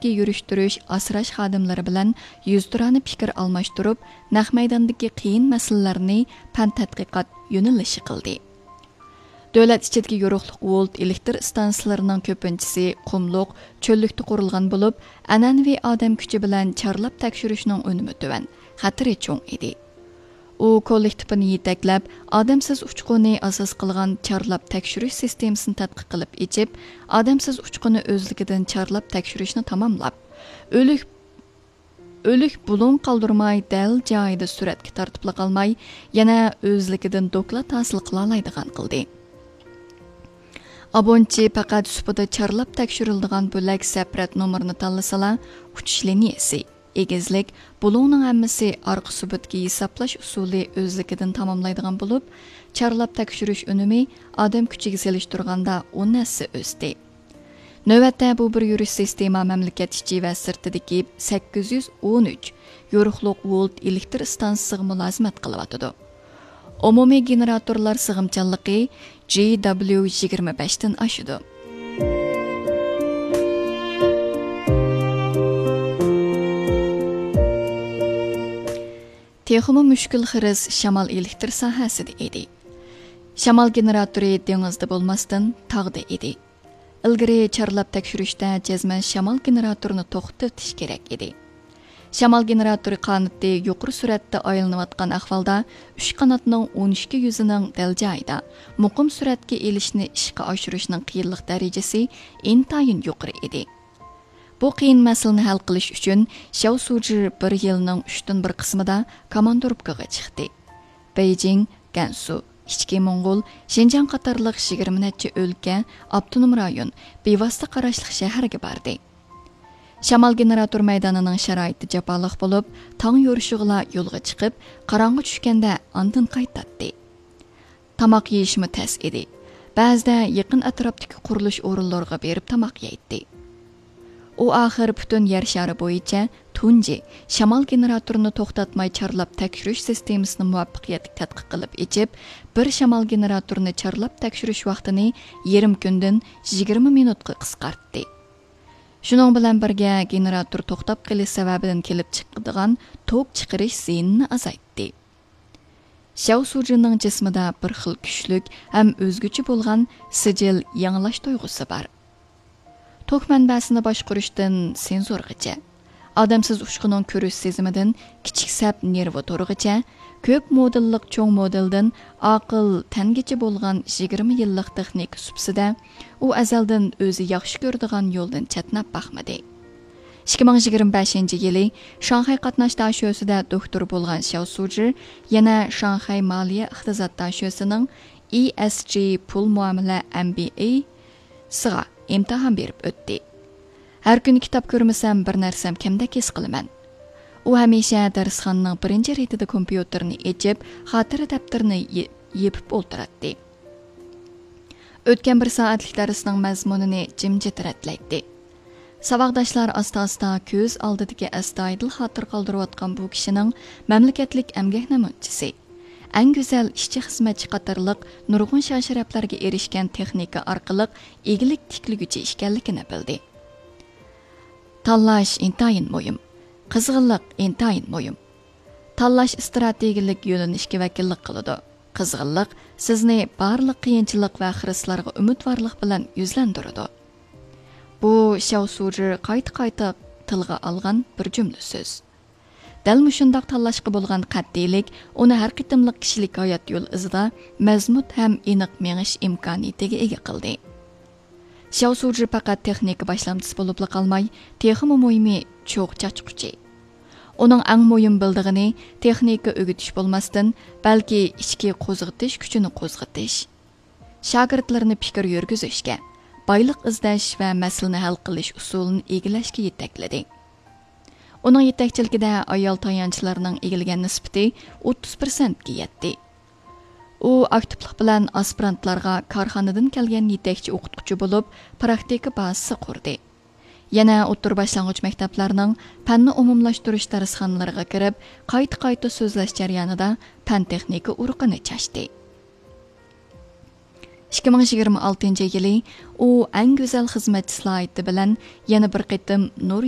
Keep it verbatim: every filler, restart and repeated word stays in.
يۈرۈشتۈرۈش، ئاسراش خادىملىرى بىلەن يۈزتۇرانە پىكىر ئالماشتۇرۇپ، نەق مەيداندىكى قىيىن مەسىلىلەرنى پەن تەتقىقات يۆنىلىشى قىلدى. دۆلەت ئىچىدىكى يورۇقلۇق ۋولت ئېلېكتر ئىستانسىلىرىنىڭ كۆپىنچىسى قۇملۇق، چۆللۈكتە قۇرۇلغان بولۇپ، ئەنئەنىۋى ئادەم كۈچى بىلەن چارلاپ تەكشۈرۈشنىڭ ئۈنۈمى تۆۋەن، خەتىرى چوڭ ئىدى. ئۇ كوللېكتىپىنى يېتەكلەپ، ئادەمسىز ئۇچقۇنى ئاساس قىلغان چارلاپ تەكشۈرۈش سىستېمىسىنى تەتقىق قىلىپ ئېچىپ، ئادەمسىز ئۇچقۇنى ئۆزلۈكىدىن چارلاپ تەكشۈرۈشنى تاماملاپ، ئۆلۈك، ئۆلۈك بۇلۇڭ قالدۇرماي، دەل جايىدا سۈرەتكە تارتىپلا قالماي، يەنە ئۆزلۈكىدىن دوكلات ھاسىل قىلالايدىغان قىلدى. ئابونچى پەقەت سۇپىدا چارلاپ تەكشۈرۈلىدىغان بۆلەك سەپرەت نومۇرىنى تاللىسىلا، ئۇچۇش لىنىيەسى، ئېگىزلىك، بۇلۇڭنىڭ ھەممىسى ئارقا سۇپىدىكى ھېسابلاش ئۇسۇلى ئۆزلۈكىدىن تاماملايدىغان بولۇپ، چارلاپ تەكشۈرۈش ئۈنۈمى ئادەم كۈچىگە سېلىشتۇرغاندا ئون ھەسسە ئۆستى. نۆۋەتتە بۇ بىر يۈرۈش سىستېما مەملىكەت ئىچى ۋە سىرتىدىكى سەككىز يۈز ئون ئۈچ يورۇقلۇق ۋولت ئېلېكتر ئىستانسىسىغا مۇلازىمەت قىلىۋاتىدۇ. ئومۇمىي گېنېراتورلار سىغىمچانلىقى جى دابليۇ يىگىرمە بەشتىن ئاشىدۇ. تېخىمۇ مۈشكۈل خىرىس شامال ئېلېكتر ساھەسىدە ئىدى. شامال گېنېراتورى دېڭىزدا بولماستىن، تاغدا ئىدى. ئىلگىرى چارلاپ تەكشۈرۈشتە جەزمەن شامال گېنېراتورىنى توختىتىش كېرەك ئىدى. شامال گېنېراتورى قانىتى يۇقىرى سۈرئەتتە ئايلىنىۋاتقان ئەھۋالدا، ئۈچ قاناتنىڭ ئون ئىككى يۈزىنىڭ دەل جايىدا، مۇقىم سۈرئەتكە ئېلىشنى ئىشقا ئاشۇرۇشنىڭ قىيىنلىق دەرىجىسى ئىنتايىن يۇقىرى ئىدى. بۇ قىيىن مەسىلىنى ھەل قىلىش ئۈچۈن، شياۋ سۇجى بىر يىلنىڭ ئۈچتىن بىر قىسمىدا كوماندىروپكىغا چىقتى. بېيجىڭ، گەنسۇ، ئىچكى موڭغۇل، شىنجاڭ قاتارلىق يىگىرمە نەچچە ئۆلكە، ئاپتونوم رايون، بىۋاسىتە قاراشلىق شەھەرگە باردى. شامال گېنېراتور مەيدانىنىڭ شارائىتى جاپالىق بولۇپ، تاڭ يورۇشىغىلا يولغا چىقىپ، قاراڭغۇ چۈشكەندە ئاندىن قايتاتتى. تاماق يېيىشمۇ تەس ئىدى. بەزىدە يېقىن ئەتراپتىكى قۇرۇلۇش ئورۇنلىرىغا بېرىپ تاماق يەيتتى. ئۇ ئاخىر پۈتۈن يەر شارى بويىچە تۇنجى شامال گېنېراتورىنى توختاتماي چارلاپ تەكشۈرۈش سىستېمىسىنى مۇۋەپپەقىيەتلىك تەتقىق قىلىپ ئېچىپ، بىر شامال گېنېراتورىنى چارلاپ تەكشۈرۈش ۋاقتىنى يېرىم كۈندىن يىگىرمە مىنۇتقا قىسقارتتى. شۇنىڭ بىلەن بىرگە، گېنېراتور توختاپ قېلىش سەۋەبىدىن كېلىپ چىقىدىغان توك چىقىرىش زىيىنىنى ئازايتتى. شياۋ سۇجىنىڭ جىسمىدا بىر خىل كۈچلۈك ھەم ئۆزگىچە بولغان سىجىل يېڭىلاش تۇيغۇسى بار. توك مەنبەسىنى باشقۇرۇشتىن سېنزورغىچە، ئادەمسىز ئۇچقۇنىڭ كۆرۈش سېزىمىدىن كىچىك سەپ نېرۋا تورىغىچە، كۆپ مودېللىق چوڭ مودېلدىن ئاقىل تەنگىچە بولغان يىگىرمە يىللىق تېخنىكا سۇپىسىدە، ئۇ ئەزەلدىن ئۆزى ياخشى كۆرىدىغان يولدىن چەتنەپ باقمىدى. ئىككى مىڭ يىگىرمە بەشىنچى يىلى شاڭخەي قاتناش داشۆسىدە دوكتور بولغان شياۋ سۇجى يەنە شاڭخەي مالىيە ئىقتىساد داشۆسىنىڭ ئى ئېس جى پۇل مۇئامىلە ئەم بى ئەي سىغا ئىمتىھان بېرىپ ئۆتتى. ھەر كۈنى كىتاب كۆرمىسەم، بىر نەرسەم كەمدەك ھېس قىلىمەن. ئۇ ھەمىشە دەرسخانىنىڭ بىرىنچى رېتىدە كومپيۇتېرنى ئېچىپ، خاتىرە دەپتىرىنى يې-، يېپىپ ئولتۇراتتى. ئۆتكەن بىر سائەتلىك دەرسنىڭ مەزمۇنىنى جىمجىت رەتلەيتتى. ساۋاقداشلار ئاستا-ئاستا كۆز ئالدىدىكى ئەستايىدىل خاتىرە قالدۇرۇۋاتقان بۇ كىشىنىڭ مەملىكەتلىك ئەمگەك نەمۇنىچىسى، ئەڭ گۈزەل ئىشچى-خىزمەتچى قاتارلىق نۇرغۇن شان-شەرەپلەرگە ئېرىشكەن تېخنىكا ئارقىلىق ئىگىلىك تىكلىگۈچى ئىكەنلىكىنى بىلدى. تاللاش ئىنتايىن مۇھىم. قىزغىنلىق ئىنتايىن مۇھىم. تاللاش ئىستراتېگىيەلىك يۆنىلىشكە ۋەكىللىك قىلىدۇ. قىزغىنلىق سىزنى بارلىق قىيىنچىلىق ۋە خىرىسلارغا ئۈمىدۋارلىق بىلەن يۈزلەندۈرىدۇ. بۇ شياۋ سۇجى قايتا-قايتا تىلغا ئالغان بىر جۈملە سۆز. دەل مۇشۇنداق تاللاشقا بولغان قەتئىيلىك ئۇنى ھەر قېتىملىق كىشىلىك ھايات يول ئىزىدا مەزمۇت ھەم ئېنىق مېڭىش ئىمكانىيىتىگە ئىگە قىلدى. شياۋ سۇجى پەقەت تېخنىكا باشلامچىسى بولۇپلا قالماي، تېخىمۇ مۇھىمى چوغ چاچقۇچى. ئۇنىڭ ئەڭ مۇھىم بىلىدىغىنى تېخنىكا ئۆگىتىش بولماستىن، بەلكى ئىچكى قوزغىتىش كۈچىنى قوزغىتىش، شاگىرتلىرىنى پىكىر يۈرگۈزۈشكە، بايلىق ئىزدەش ۋە مەسىلىنى ھەل قىلىش ئۇسۇلىنى ئىگىلەشكە يېتەكلىدى. ئۇنىڭ يېتەكچىلىكىدە ئايال تايانچلارنىڭ ئىگىلىگەن نىسبىتى ئوتتۇز پىرسەنتكە يەتتى. ئۇ ئاكتىپلىق بىلەن ئاسپىرانتلارغا كارخانىدىن كەلگەن يېتەكچى ئوقۇتقۇچى بولۇپ، پراكتىكا بازىسى قۇردى. يەنە ئوتتۇرا باشلانغۇچ مەكتەپلەرنىڭ پەننى ئومۇملاشتۇرۇش دەرسخانىلىرىغا كىرىپ، قايتا-قايتا سۆزلەش جەريانىدا پەن-تېخنىكا ئۇرۇقىنى چاچتى. ئىككى مىڭ يىگىرمە ئالتىنچى يىلى ئۇ ئەڭ گۈزەل خىزمەتچى سالاھىيىتى بىلەن يەنە بىر قېتىم نۇر